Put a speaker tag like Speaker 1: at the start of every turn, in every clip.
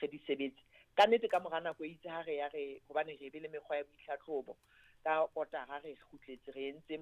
Speaker 1: re re di sebetse. Ka nnete ka mora nako e itse ha re ya re hobane re be le mekgwa ya boitlhatlhobo ka kotara, re kgutletse re entse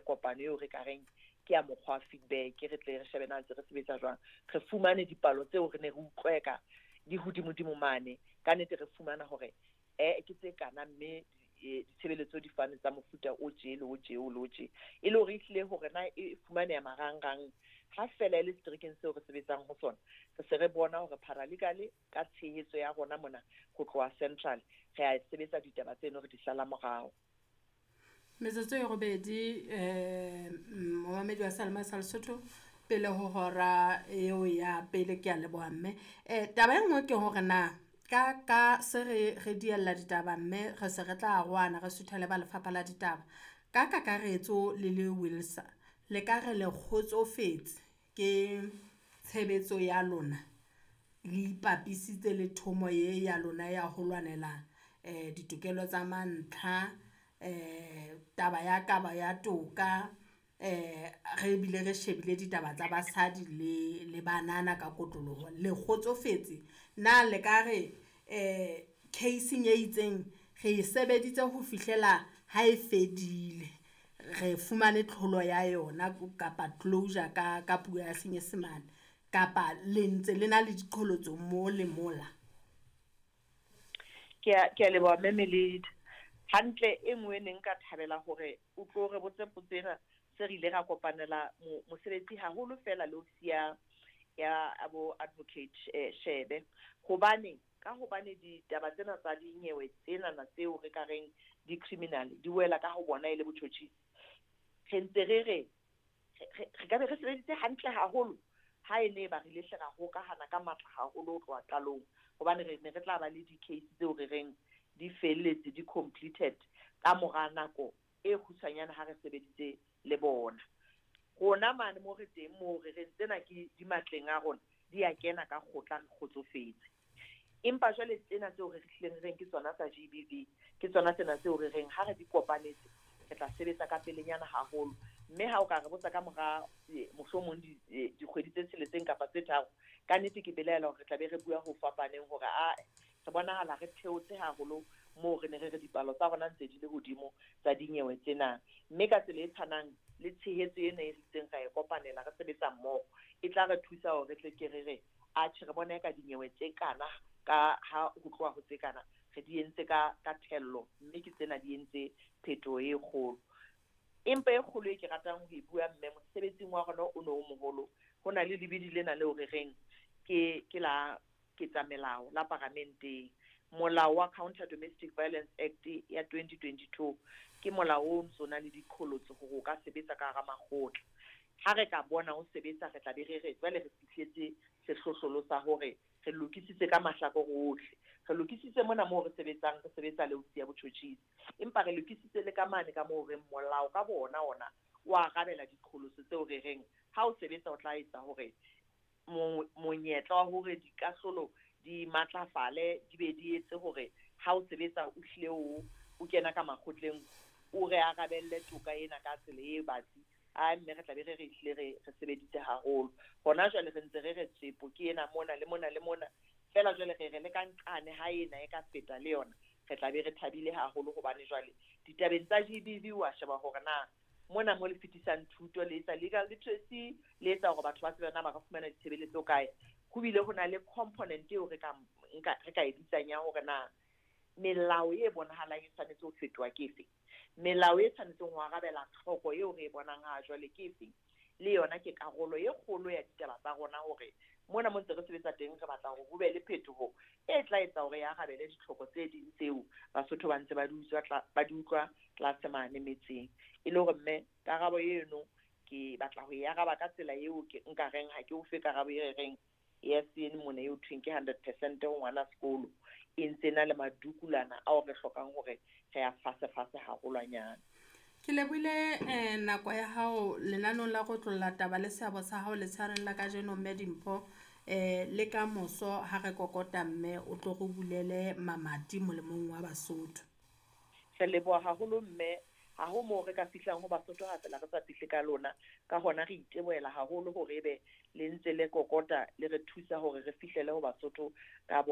Speaker 1: kopano eo re ka reng ke ya mokgwa wa feedback, re tle re shebe na ntse re sebetsa jwang. Re fumane dipalo tseo re ne re utlweka di hodimodimo mane. Ka nnete re fumana hore ke tse kana, mme ditshebeletso di fane tsa mofuta o tje le o tje o le o tje, e le hore ehlile hore na e fumaneha marangrang. Ha fela e le seterekeng seo re sebetsang ho sona, re se re bona hore paralegal ka tshehetso ya rona mona ho tloha central re a sebetsa ditaba tseno, re di sala morao.
Speaker 2: Metsotso e 8, momamedi wa Salma sa Lesotho, pele ho hora eo ya pele. Ke a leboha, mme. Taba e nngwe ke hore na ka se re diella ditaba, mme re se re tla arohana, re suthele ba lefapha la ditaba. Ka kakaretso le le WILSA, le ka re le kgotsofetse ke tshebetso ya lona, le ipapisitse le thomo ye ya lona ya ho lwanela ditokelo tsa mantlha, taba ya kaba ya toka, re bile re shebile ditaba tsa basadi le banana ka kotloloho, le kgotsofetse na? Le ka re case-ing e itseng re e sebeditse ho fihlela ha e fedile, re fumane tlholo ya yona kapa closure ka puo ya Senyesemane, kapa le ntse le na le diqholotso mo le mola?
Speaker 1: Ke a leboha, mme Meledi. Hantle e nngwe ne nka thabela hore o tlo re botse potso ena, se re ile ra kopanela mosebetsi haholo fela le ofisi ya bo advocate Shebe, hobane ka hobane ditaba tsena tsa dinyewe tsenana tseo re ka reng di-criminal di wela ka ho bona e le botjhotjhisi, re ntse re ka be re sebeditse hantle haholo ha e ne ba re ile hle ra hokahana ka matla haholo ho tloha qalong, hobane re ne re tla ba le di-case tseo re reng di felletse, di completed ka mora nako e kgutshwanyane ha re sebeditse le bona. Rona mane mo re teng, mo re reng tsena ke di matleng a rona, di a kena ka kgotla, re kgotsofetse. Empa jwale tsena tseo re hlileng re reng ke tsona tsa GBV, ke tsona tsena tseo re reng ha re di kopanetse re tla sebetsa ka pelenyana haholo. Mme ha o ka re botsa ka mora mohlomong dikgwedi tse 6 kapa tse 3, ka nnete ke belaela hore re tla be re bua ho fapaneng, hore a re bonahala re theotse haholo moo re ne re re dipalo tsa rona ntse di le hodimo tsa dinyewe tsena. Mme ka tsela e tshwanang le tshehetso ena e ritseng ra e kopanela re sebetsa mmoho, e tla re thusa hore re tle ke re re atjhe, re bona eka dinyewe tse kana ka ha ho tloha ho tse kana re di entse ka thello, mme ke tsena di entse phetoho e kgolo. Empa e kgolo e ke ratang ho e bua, mme, mosebetsing wa rona o no o moholo, ho na le lebidi lena leo re reng ke la ketsamelao la paramenteng. Molao wa Counter Domestic Violence Act ya 2022 ke molao o ntso na le diqholotso hore o ka sebetsa ka hara makgotla. Ha re ka bona o sebetsa, re tla be re re jwale re fihletse sehlohlolo sa hore re lokisitse ka mahlakore ohle. Re lokisitse mona moo re sebetsang, re sebetsa le ofisi ya botjhotjhisi, empa re lokisitse le ka mane ka moo reng molao ka bona ona o arabela diqholotso tseo re reng ha o sebetsa o tla etsa hore monyetla wa hore dikahlolo di matlafale, di be di etse hore ha o sebetsa o hlile o kena ka makgotleng, o re arabelle toka ena ka tsela e batsi. A mme re tla be re re hlile re sebeditse haholo. Hona jwale re ntse re re tsepo ke ena mona le mona le mona fela, jwale re re le ka nqane ha ena e ka feta le yona, re tla be re thabile haholo, hobane jwale ditabeng tsa GBV wa sheba hore na mona mo le fetisang thuto, le etsa legal literacy, le etsa hore batho ba tsebe na ba ka fumana ditshebeletso kae. Ho bile ho na le component eo re ka nka, re ka e bitsang ya hore na melao e bonahalang e tshwanetse ho fetoha ke efe, melao e tshwanetseng ho arabela tlhoko eo re e bonang ha jwale ke efe. Le yona ke karolo e kgolo ya ditaba tsa rona, hore mona mo ntse re sebetsa teng re batla hore ho be le phetoho e tla etsa hore e arabele ditlhoko tse ding tseo Basotho ba ntse ba di utswa, ba di utlwa tlase mane metseng. E le hore mme karabo eno ke batla ho e araba ka tsela eo ke nka reng ha ke o fe karabo e reng yes ene mona eo thweng ke 100% ho ngwana sekolo, e ntse na le madukulana ao re hlokang hore re a fase fase haholwanyane.
Speaker 2: Ke lebohile nako ya hao lenanong la go tlolla taba le seabo sa hao letshareng la kajeno, mme Dimpho. Le ka moso ha re kokota, mme o tlo re bulele mamati molemong wa Basotho.
Speaker 1: Re leboha haholo, mme. Ha ho moo re ka fihlang ho Basotho ha fela re sa fihle ka lona. Ka hona re itebohela haholo hore ebe le ntse le kokota le re thusa hore re fihlele ho Basotho ka